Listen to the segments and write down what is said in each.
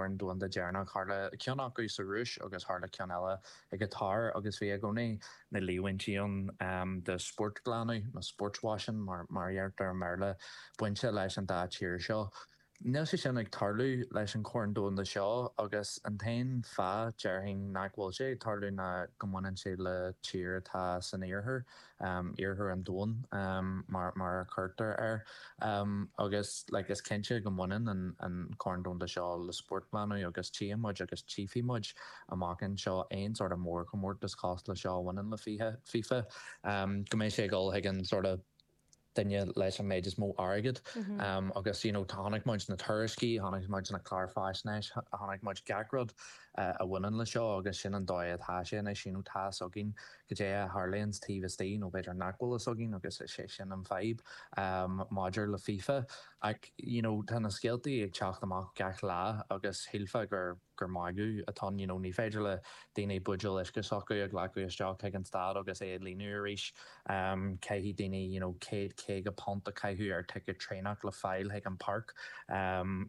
Chorn Domhanda deireanach, tharla ceann acu sa Rúis agus tharla ceann eile i gCatar agus bhí i gcónaí na líomhaintí ann de spórtghlanadh nó sportswashing mar a deirtear i mBéarla bainte leis an dá tír seo. Níl sé sin ag tarlú leis an Chorn Domhanda seo agus an t-aon fáth, déarfainn, nach bhfuil sé ag tarlú ná go mbaineann sé le tír atá san iarthar, iarthar an domhain mar mar a chuirtear air. Agus like is cinnte go mbaineann an an Corn Domhanda seo le spórtghlanadh agus tchíonn muid agus tchífidh muid amach anseo aon sort of mórchomórtas cosúil le seo a bhaineann le FIFA, go mbeidh sé ag dul chuig an sort of duine leis an méid is mó airgid agus you know chonaic muid na tuairiscí, chonaic muid na cláir faisnéis, chonaic muid gach rud a bhaineann le seo agus sin an dóigh atá sé anois, you know tá fhios againn goidé a tharlaíonns taobh istigh nó b'fhéidir nach bhfuil fhios againn agus is é sin an fadhb maidir le FIFA ach you know tá na scéaltaí ag teacht amach gach lá agus shílfeá gur gur magadh atá ann, you know, ní féidir le daoine buidéal uisce s'acu a ghlacadh isteach chuig an staid agus é a líonadh arís. Caithfidh daoine, you know, £150 a chaitheamh ar ticket traenach le fáil chuig an páirc.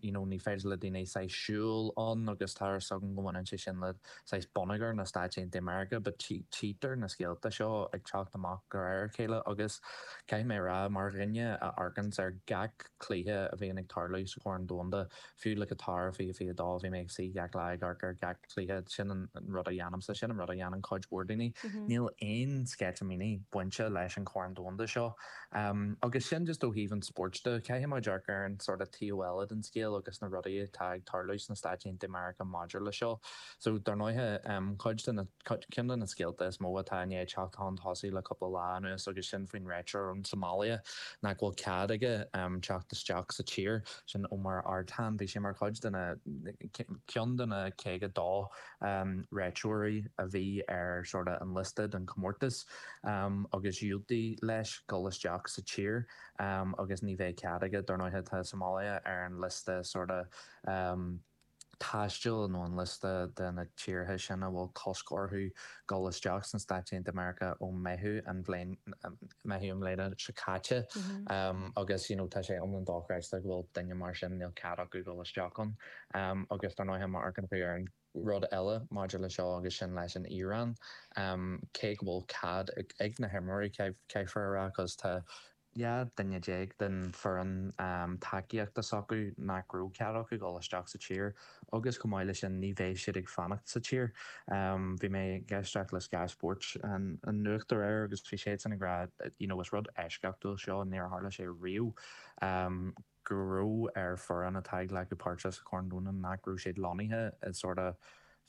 You know, ní féidir le daoine saghas siúl ann agus tá fhios agam go mbaineann sé sin le saghas bonneagar na Stáit Aontaithe Meiriceá but tchítear na scéalta seo ag teacht amach de réir a chéile agus caithfidh mé a rá mar dhuine a amharcanns ar gach cluiche a bhíonn ag tarlú sa Chorn Domhanda, Fiú le Qatar 2022, bhí mé ag suí gach lá ag amharc ar gach cluiche. Sin an rud a dhéanaimse, sin an rud a dhéanann cuid mhór daoine. Níl aon sceitimíní bainte leis an Chorn Domhanda seo. Agus sin just ó thaobh an spóirt de. Caithfidh muid amharc ar an sort of taobh eile den scéal agus na rudaí atá ag tarlú sna Stáit Aontaithe Meiriceá maidir le seo. So, dar ndóighe, cuid de na, ceann de na scéalta is mó atá i ndiaidh teacht chun tosaigh le cúpla lá anuas agus sin faoin réiteoir ón tSomália nach bhfuil cead aige teacht isteach sa tír, sin Omar Artan. Bhí sé mar chuid de na, ceann de na 52 réiteoirí a bhí ar sort of an liosta don chomórtas agus diúltaíodh leis dul isteach sa tír agus ní bheidh cead aige, dar ndóighe tá Somália ar an liosta sort of taistil nó an liosta de na tíortha sin a bhfuil cosc orthu dul isteach sna Stáit Aontaithe Meiriceá ó Meitheamh an bhliain Meitheamh i mbliana seo caite agus you know tá sé iomlán dochreidte go bhfuil duine mar sin níl cead acu dul isteach ann agus dar ndóighe má amharcann tú ar an rud eile maidir le seo agus sin leis an Iaráin cé go bhfuil cead ag na himreoirí caithfear a rá cos tá 12 duine den foireann tacaíochta s'acu nach raibh cead acu dul isteach sa tír agus chomh maith leis sin ní bheidh siad ag fanacht sa tír. Bhí mé ag éisteacht le Sky Sports an nuacht aréir agus bhí siadsan ag rá you know is rud eisceachtúil seo, níor tharla sé riamh go raibh ar foireann atá ag glacadh páirte sa Chorn Domhanda nach raibh siad lonnaithe i sort of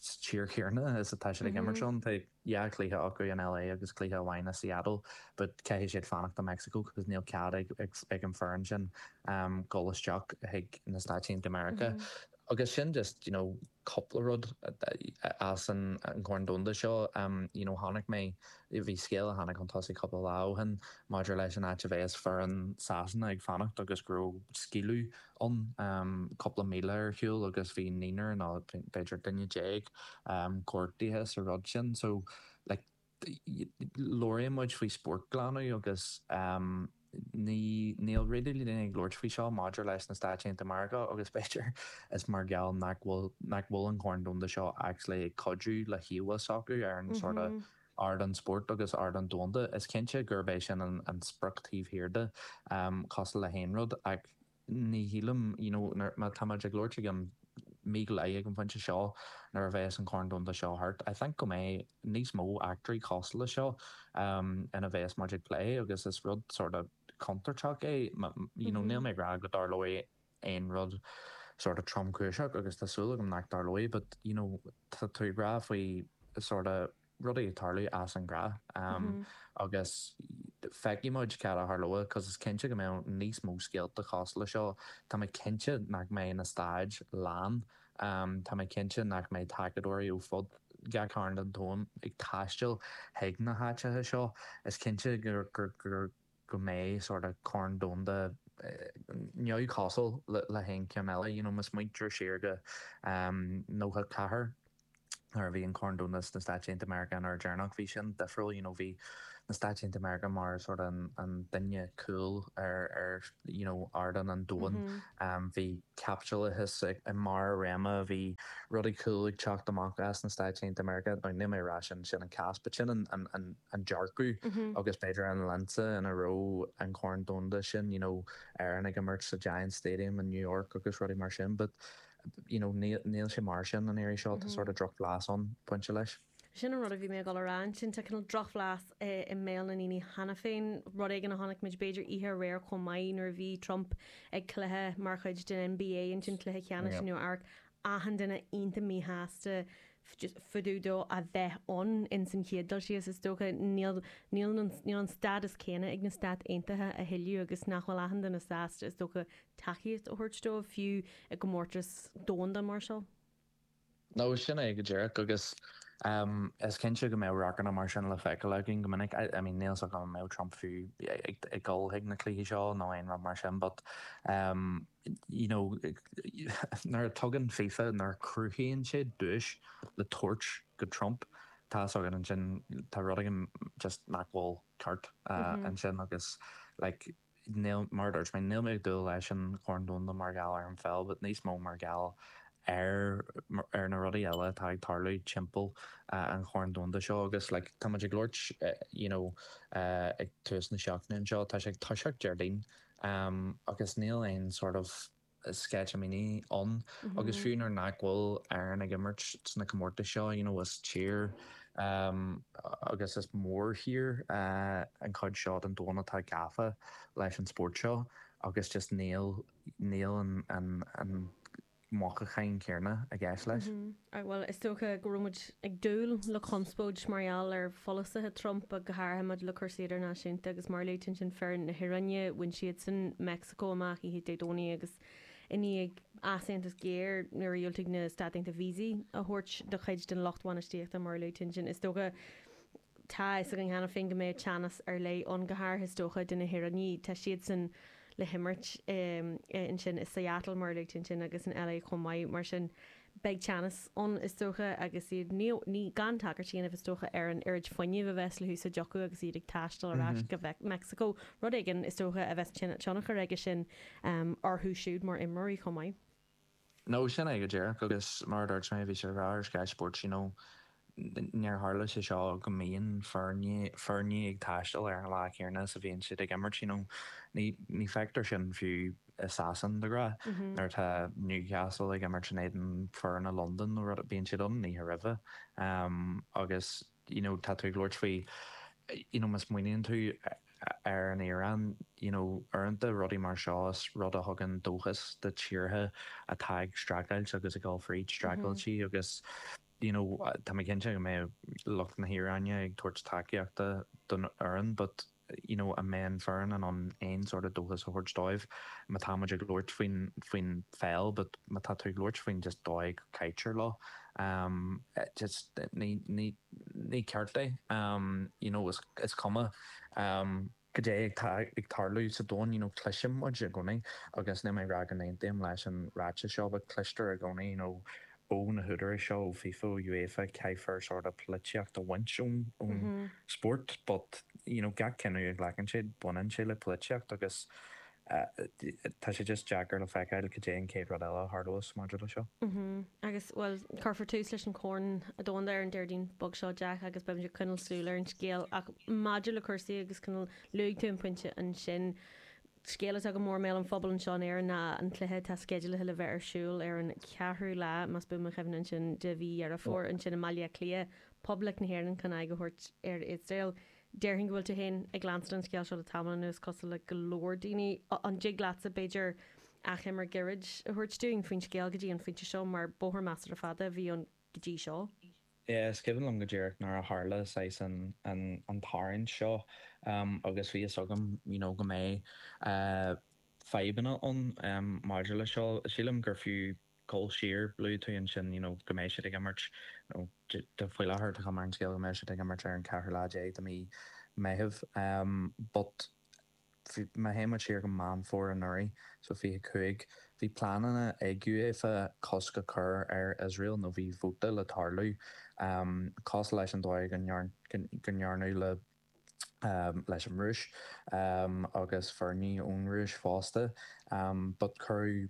sa tír chéanna is atá siad ag imirt ann. Tá 2 chluiche acu in LA agus cluiche amháin i Seattle but caithfidh siad fanacht i Mexico cos níl cead ag ag an foireann sin dul isteach chuig na Stáit Aontaithe Meiriceá. Agus sin just you know cúpla rud as an Chorn Domhanda seo. You know chonaic mé, bhí scéal a tháinig chun tosaigh cúpla lá ó shin maidir leis an áit a bheas foireann Sasana ag fanacht agus go raibh scaoileadh ann cúpla míle ar shiúl agus bhí naonúr nó b'fhéidir duine déag gortaithe sa rud sin. So like labhraíonn muid faoi spórtghlanadh agus ní níl really daoine ag labhairt faoi seo maidir leis na Stáit Aontaithe Meiriceá agus b'fhéidir is mar gheall nach bhfuil nach bhfuil an Corn Domhanda seo actually ag cuidiú le híomhá s'acu ar an sort of ardán spóirt agus ardán domhanda. Is cinnte gurb é sin an sprioc taobh thiar de, cosúil le haon rud ach ní shílim, you know, nuair, má tá muid ag labhairt ag an, mí go leith ag an phointe seo nuair a bheas an Corn Domhanda seo thart, I think go mbeidh níos mó eachtraí cosúil le seo ina bheas muid ag plé agus is rud sort of contúirteach é, you know, níl mé ag rá go dtarlóidh aon rud sort of tromchúiseach agus tá súil agam nach dtarlóidh but, you know, tá tú ag rá faoi sort of rudaí ag tarlú as an ngnáth agus feicfidh muid cad a tharlóidh cos is cinnte go mbeidh níos mó scéalta cosúil le seo. Tá mé cinnte nach mbeidh na staid lán, tá mé cinnte nach mbeidh tacadóirí ó fud gach cearn den domhan ag taisteal chuig na háiteacha seo. Is cinnte gur go mbeidh sort of Corn Domhanda neamhchosúil le haon cheann eile. You know, má smaointear siar go 94 nuair a bhí an Corn Domhanda sna Stáit Aontaithe Meiriceá an uair deireanach, bhí sin difriúil, you know, bhí na Stáit Aontaithe Meiriceá mar sort an an duine cool ar ar you know ardán an domhain. Bhí caipitleachas i mbarr a réime, bhí rudaí cool ag teacht amach as na Stáit Aontaithe Meiriceá. Now níl mé ag rá sin sin an cás but sin an an an an dearcadh agus b'fhéidir an lionsa ina raibh an Corn Domhanda sin you know Éirinn ag imirt sa Giants Stadium in New York agus rudaí mar sin but you know níl níl sé mar sin an iarraidh seo, tá sort of drochbhlas ann bainte leis. Sin an rud a bhí mé ag dul a rá ansin, tá cineál drochbhlas i mbéal na ndaoine cheana féin, rud éigin a chonaic muid b'fhéidir oíche aréir chomh maith nuair a bhí Trump ag cluiche mar chuid den NBA ansin, cluiche ceannais i Nua Eabhrac, achan duine iontach míshásta just fá dtaobh dó a bheith ann ins an chéad dul síos is dócha. Níl, níl an, níl an stádas céanna ag na Stáit Aontaithe a thuilleadh agus nach bhfuil achan duine sásta is dócha tacaíocht a thabhairt dóibh fiú i gcomórtas domhanda mar seo. No, sin é go díreach agus is cinnte go mbeadh radharcanna mar sin le feiceáil againn go minic. I mean níl 's agam an mbeadh Trump fiú ag dul chuig na cluichí seo nó aon rud mar sin but you know nuair a tugann FIFA, nuair a cruthaíonn sé duais le tabhairt go Trump, tá 's againn ansin tá rud éigin just nach bhfuil ceart ansin agus like Níl, mar a dúirt mé, níl mé ag dúil leis an Chorn Domhanda mar gheall ar an pheil, but níos mó mar gheall ar ar na rudaí eile atá ag tarlú timpeall an Chorn Domhanda seo agus like tá muid ag labhairt you know ag tús na seachtaine anseo, tá sé ag toiseacht Déardaoin agus níl aon sort of sceitimíní ann agus fiú nuair nach bhfuil Éirinn ag imirt sna comórtais seo, you know, is tír agus is mórthír an chuid seo den domhan atá gafa leis an spórt seo agus just níl, níl an, an, an mothúchán céanna i gceist leis. Bhuel, is dócha go raibh muid ag dúil le conspóid mar gheall ar pholasaithe Trump, go háirithe maidir le cúrsaí idirnáisiúnta agus mar a luaigh tú ansin foireann na hIaráine, bhain siadsan Meicsiceo amach oíche Dé Domhnaigh agus i ndiaidh easaontas géar nuair a dhiúltaigh na Stáit Aontaithe víosaí a thabhairt do chuid den lucht bhainistíochta mar a luaigh tú ansin. Is dócha Tá a fhios againn cheana féin go mbeidh teannas ar leith ann, go háirithe is dócha do na hIaránaigh. Tá siadsan le himirt ansin i Seattle, mar a luaigh tú ansin, agus in LA chomh maith. Mar sin, beidh teannas ann is dócha agus iad, ní, ní, gan tagairt a dhéanamh is dócha ar an oiread fuinnimh a bheas le húsáid acu agus iad ag taisteal ar ais go Meicsiceo, rud éigin is dócha a bheas tionchar aige sin orthu siúd mar imreoirí chomh maith. No, sin é go díreach agus mar a dúirt mé, bhí sé le rá ar Sky Sports, you know, níor tharla sé seo go mbíonn foirne, foirne ag taisteal ar an lá céanna is a bhíonn siad ag imirt, you know. Ní, ní feictear sin fiú i Sasain de ghnáth, nuair atá Newcastle ag imirt in éadan foirne Londain nó rud, bíonn siad ann an oíche roimhe. Agus, you know, tá tú ag labhairt faoi, you know, má smaoiníonn tú ar an Iaráin, you know, uaireanta rudaí mar seo is rud a thugann dóchas do tíortha atá ag streachailt agus ag dul fríd streachailtí agus, you know, tá mé cinnte go mbeidh lucht na hIaráine ag tabhairt tacaíochta don fhoireann but, you know, an mbeidh an foireann in ann aon sort of dóchas a thabhairt dóibh má tá muid ag labhairt faoin, faoin pheil but má tá tú ag labhairt faoin just dóigh go gcaitear leo, um, just ní, ní, ní ceart é, um, you know, is, is cuma, um, cad é atá ag tarlú sa domhan, you know, cloiseann muid i gcónaí agus níl mé ag rá go n-aontaím leis an ráiteas seo but cloistear i gcónaí, you know, ó na húdaráis seo, ó FIFA, ó UEFA, caithfear sort of polaitíocht a bhaint ón ón spórt but, you know, gach cinneadh a ghlacann siad, baineann sé le polaitíocht agus tá sé just deacair le feiceáil cad é an chéad rud eile a tharlós maidir le seo. Agus, bhuel, cuirfear tús leis an Chorn Domhanda ar an Déardaoin beag seo, Jack, agus beimid ag coinneáil súil ar an scéal. Ach maidir le cúrsaí agus cineál, luaigh tú an pointe ansin, scéal atá go mór i mbéal an phobail anseo in Éirinn ná an cluiche atá sceidealaithe le bheith ar siúl ar an cheathrú lá, más buan mo chuimhne ansin, de mhí Dheireadh Fómhair ansin i mBaile Átha Cliath, Poblacht na hÉireann chun aghaidh a thabhairt ar Iosrael. Déarfainn go bhfuil tú féin ag leanstan an scéil seo le tamall anuas, cosúil le go leor daoine. An dtig leatsa, b'fhéidir, achoimre gairid a thabhairt dúinn faoin scéal go dtí an phointe seo, mar bóthar measartha fada a bhí ann go dtí seo? Yeah, is cuimhin liom go díreach nuair a tharla saghas an an tarraingt seo agus bhí fhios agam you know go mbeidh fadhbanna ann maidir le seo. Sílim gur fiú dul siar, luaigh tú ansin you know go mbeidh siad ag imirt nó faoi láthair tá cuma ar an scéal go mbeidh siad ag imirt ar an ceathrú lá déag de mhí Meitheamh but má théann muid siar go Meán Fómhair anuraidh, so 25, bhí pleananna ag UEFA cosc a chur ar Iosrael nó bhí vóta le tarlú cosúil leis an dóigh go ndearnadh le. Leis an Rúis agus foirne ón Rúis fosta. But cuireadh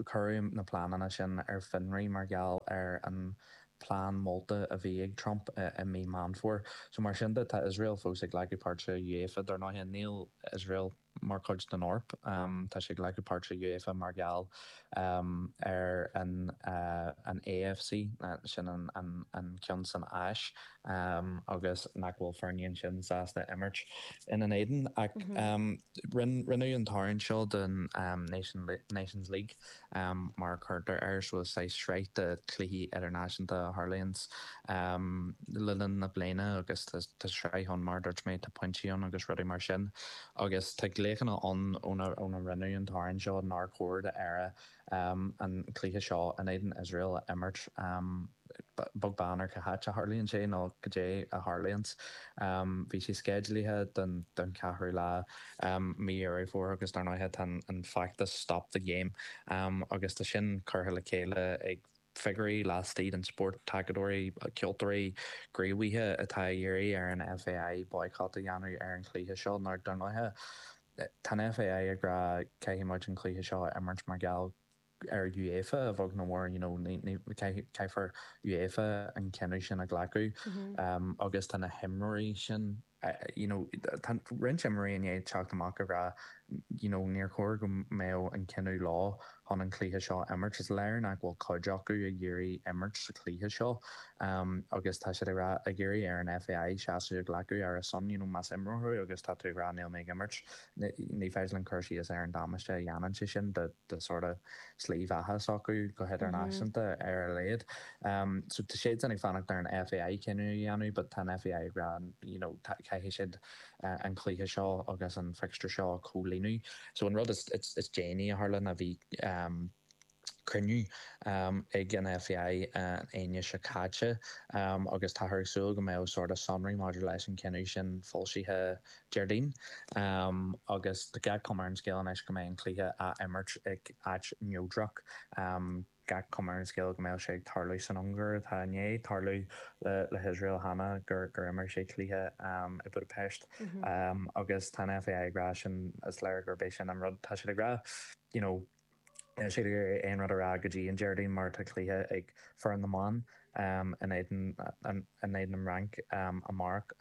cuireadh na pleananna sin ar fionraí mar gheall ar an plean molta a bhí ag Trump i mí Meán Fómhair. So mar sin de tá Iosrael fós ag glacadh páirt sa UEFA. Dar ndóighe níl Iosrael mar chuid den Eoraip. Tá sé ag glacadh páirt sa UEFA mar gheall ar an an AFC, sin an ceann san Áis, agus nach bhfuil foirne ansin sásta imirt ina n-éadan. Ach rinneadh an tarraingt seo don Nations League. Mar a chuirtear air, so is saghas sraith de chluichí idirnáisiúnta a tharlaíonns le linn na bliana agus tá sraith ann mar a dúirt mé, tá pointí ann agus rudaí mar sin. Agus tá glaochanna ann óna rinneadh an tarraingt seo nár chóir d'Éire an cluiche seo in éadan Iosrael a imirt. Beag beann ar cá háit a tharlaíonn sé nó goidé a tharlaíonns. Bhí sé sceidealaithe don cheathrú lá mí Dheireadh Fómhair agus dar ndóighe tá an feachtas Stop the Game agus tá sin curtha le chéile ag figiúirí laistigh den spórt, tacadóirí, ceoltóirí, gníomhaithe atá ag iarraidh ar an FAI boycott a dhéanamh ar an chluiche seo nó dar ndóighe tá an FAI ag rá caithfidh muid an cluiche seo a imirt mar gheall ar UEFA a bheag nó mór, you know, ní, caithfear UEFA an cinneadh sin a ghlacadh agus tá na himreoirí sin, you know, tá roinnt imreoirí i ndiaidh teacht amach ag rá, you know, níor chóir go mbeadh an cinneadh leo chun an cluiche seo a imirt. Is léir nach bhfuil cuid acu ag iarraidh imirt sa chluiche seo agus tá siad ag rá, ag iarraidh ar an FAI seasamh a ghlacadh ar a son, you know, más imreoir thú agus tá tú ag rá níl mé ag imirt, ní féidir linn cur síos ar an damáiste a dhéanann sé sin do do sort of slí bheatha s'acu go hidirnáisiúnta ar a laghad. So tá siadsan ag fanacht ar an FAI cinneadh a dhéanamh but tá an FAI ag rá you know caithfidh siad an cluiche seo agus an fixture seo a chomhlíonadh. So an rud is is déanaí a tharla ná bhí cruinniú ag an FAI an Aoine seo caite agus táthar ag súil go mbeadh sort of sonraí maidir leis an cinneadh sin foilsithe Déardaoin agus tá gach cuma ar an scéal anois go mbeidh an cluiche á imirt ag áit neodrach. Gach cuma ar an scéal go mbeidh sé ag tarlú san Ungáir atá i ndiaidh tarlú le hIosrael cheana gur imir sé cluiche i Budapest agus tá an FAI ag rá sin is léir gurb é sin an rud tá siad ag rá you know Níl siad ag iarraidh aon rud a rá go dtí an Déardaoin mar tá cluiche ag foireann na mban in éadan in éadan an Fhrainc amárach,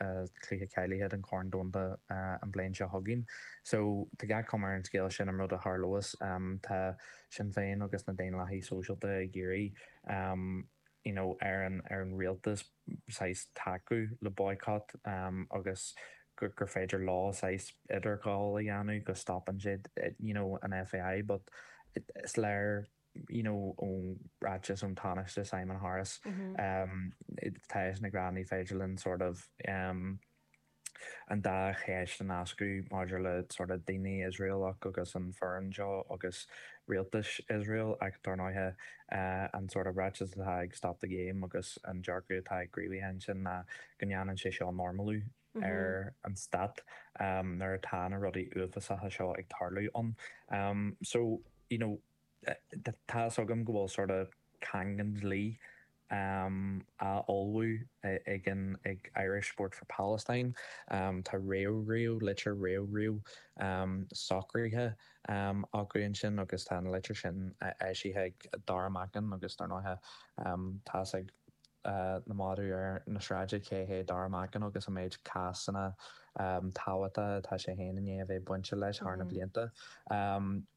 cluiche cáilithe don Chorn Domhanda an bhliain seo chugainn. So tá gach cuma ar an scéal sin an rud a tharlós. Tá Sinn Féin agus na Daonlathaigh Sóisialta ag iarraidh you know ar an ar an rialtas saghas tacú le boycott agus gur féidir leo saghas idirghabháil a dhéanamh go stopann siad you know an FAI but is léir you know ón ráiteas ón Tánaiste Simon Harris tá eisean ag rá ní féidir linn sort of an dá cheist a nascadh maidir le sort of daoine Iosraelach agus an foireann seo agus rialtas Iosrael ach dar ndóighe an sort of ráiteas atá ag Stop the Game agus an dearcadh atá ag gníomhaithe ansin ná go ndéanann sé seo normalú ar an stát nuair atá na rudaí uafásacha seo ag tarlú ann. So, you know, Tá fhios agam go bhfuil sort of caingean dlí á ullmhú ag an ag Irish Sport for Palestine. Tá réamhghníomh, litir réamhghníomh socraithe acu ansin agus tá an litir sin eisithe ag Dara Macken agus dar ndóighe tá fhios ag na madaí ar na sráide cé hé Dara Macken agus an méid cásanna tábhachtacha atá sé féin i ndiaidh a bheith bainte leis thar na blianta.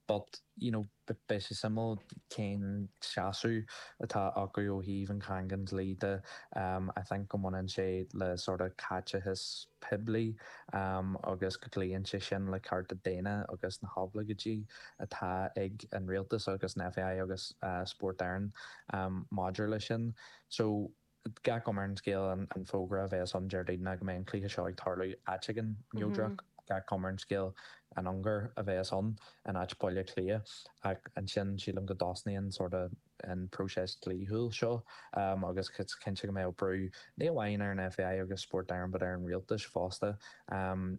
But, you know, beidh sé suimiúil cén seasamh atá acu ó thaobh an chaingean dlí de. I think go mbaineann sé le sort of caiteachas poiblí agus go gcloíonn sé sin le cearta daonna agus na hoibleagáidí atá ag an rialtas agus an FAI agus Spórt Éireann maidir leis sin. So, Gach cuma ar an scéal an fógra a bheas ann Déardaoin ná go mbeidh an cluiche seo ag tarlú áit éigin neodrach. Gach cuma ar an scéal an Ungáir a bheas ann in áit Baile Átha Cliath. Ach ansin sílim go dtosnaíonn sort of. an próiseas dlíthiúil seo agus is cinnte go mbeadh brú ní amháin ar an FAI agus Spórt Éireann but ar an rialtas fosta.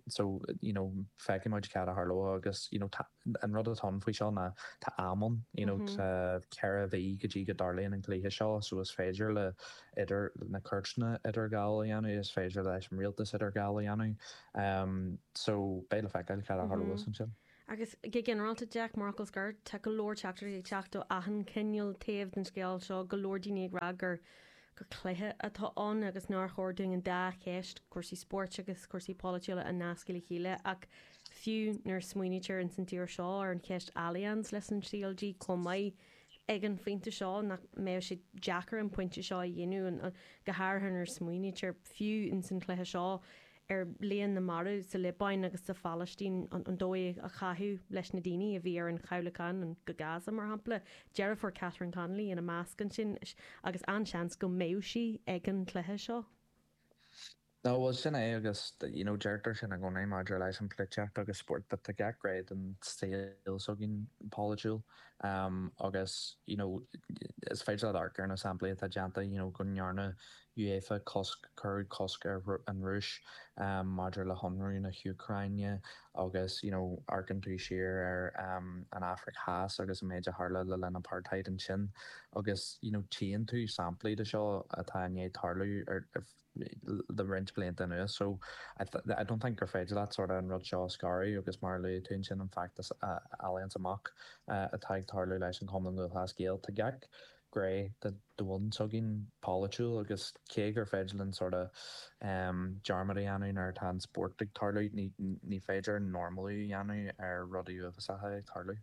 So you know feicfidh muid cad a tharlóidh agus you know tá an rud atá ann faoi seo ná tá am ann you know tá 4 mhí go dtí go dtarlaíonn an cluiche seo so is féidir le idir na cúirteanna idirghabháil a dhéanamh, is féidir leis an rialtas idirghabháil a dhéanamh. So beidh le feiceáil cad a tharlós ansin. Agus go ginearálta, Jack, mar fhocal scoir, tá go leor teachtaireachtaí ag teacht ó achan cineál taobh den scéal seo, go leor daoine ag rá gur gur cluiche atá ann agus nár chóir dúinn an dá cheist, cúrsaí spóirt agus cúrsaí polaitiúla, a nascadh le chéile. Ach fiú nuair a smaoinítear ins an tír seo ar an cheist Allianz leis an CLG chomh maith, ag an phointe seo, nach mbeadh sé deacair an pointe seo a dhéanamh, go háirithe nuair a smaoinítear, fiú ins an chluiche seo, ar líon na marbh sa Liobáin agus sa Phalaistín, an dóigh a caitheadh leis na daoine a bhí ar an chabhlachán go Gaza, mar shampla, deirfiúr Catherine Connolly ina measc ansin, agus an-seans go mbeadh sí ag an chluiche seo. No, bhuel sin é agus you know deirtear sin i gcónaí maidir leis an pholaitíocht agus spórt but tá gach gné den saol s'againn polaitiúil agus you know is féidir leat amharc ar na samplaí atá déanta you know go ndearna UEFA cosc, cuireadh cosc ar an Rúis maidir le hionradh na hÚcráine agus you know amharcann tú siar ar an Afraic Theas agus an méid a tharla le linn apartheid ansin agus you know tchíonn tú samplaí de seo atá i ndiaidh tarlú ar le roinnt blianta anuas so I don't think gur féidir leat sort of an rud seo a scaradh agus mar a luaigh tú ansin an feachtas Allianz Amach atá ag tarlú leis an Chumann Lúthchleas Gael tá gach gné den domhan s'againn polaitiúil agus cé gur féidir linn sort of dearmad a dhéanamh nuair atá an spórt ag tarlú ní féidir normalú a dhéanamh ar rudaí uafásacha ag tarlú.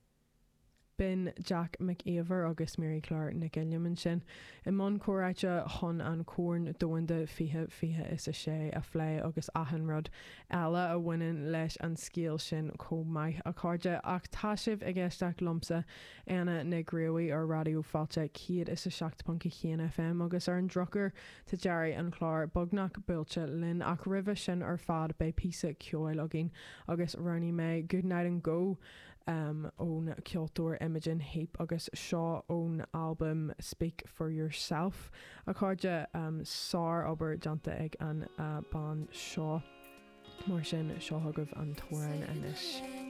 B'in Jack Mac Íomhair agus Mary Claire Nic Uilliam ansin i mbun comhráite chun an Corn Domhanda 2026 a phlé agus achan rud eile a bhaineann leis an scéal sin chomh maith, a chairde. Ach tá sibh ag éisteacht liomsa, Éanna Nic Gríobhaigh ar Raidió Fáilte 107.1 FM agus ar an drochuair tá deireadh an chláir beagnach buailte linn ach roimhe sin ar fad beidh píosa ceoil againn agus roghnaigh mé Goodnight and Go ón ceoltóir Imogen Heap agus seo ón albam Speak For Yourself. A chairde, sár-obair déanta ag an bean seo. Mar sin, seo chugaibh an t-amhrán anois.